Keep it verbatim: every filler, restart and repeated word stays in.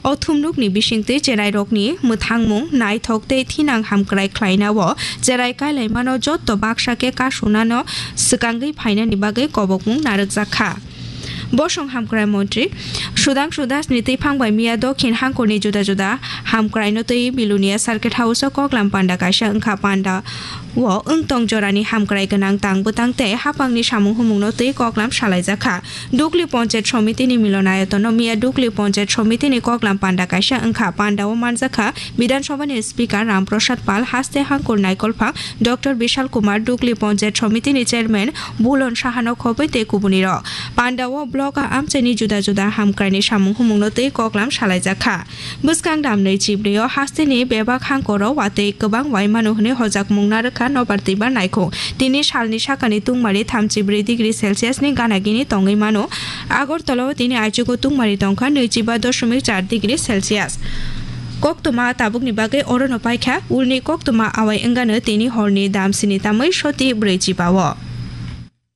O thumnukni bisingtwi cherairokni mwthangmung naithok tei thinang hamkrai khlainao cherai kailaimano jotto baksa khe kasunano swkangwi phainani bagwi kobokmung narwkjakha. Bosong hamkrai montri Sudhangshu Dasni twiphang bai miya Dokhin Hangkorni juda juda hamkraino twi Bilonia Circuit House-o koklam panda kaisa wngkha. Panda o wngtong jorani hamkrai gwnang tang bwtang tei haphangni samung humungno twi koklam salaijakha. Dukli Ponchayat Somitini milonayatonno miya Dukli Ponchayat Somitini koklam panda kaisa wngkha. Panda o manjakha Bidhan Sabhani Speaker Ram Prasad Pal, haste hangkur naikolphang Doctor Bishal Kumar, Dukli Ponchayat Somitini Chairman Bulon Sahano khobwi tei kubunirok. Panda o block a amchaini juda juda hamkraini samung humungno twi koklam salaijakha. Bwskang damnwi chibrio hasteni bebak hangkoro watwi kwbang waimano hwnwi hojakmung narwkha nobar twibar naikhung. Tini salni sakani tungmari thamchi bwrwi degree Celsius ni gana gini tongwi mano. Agartala o tini aichugo tungmari tongkha nwichiba doshomik char degree Celsius. Koktwma tabukni bagwi orono paikha, ulni koktwma awai wngano tini horni damsini tamwi soti bwrwi chiba o.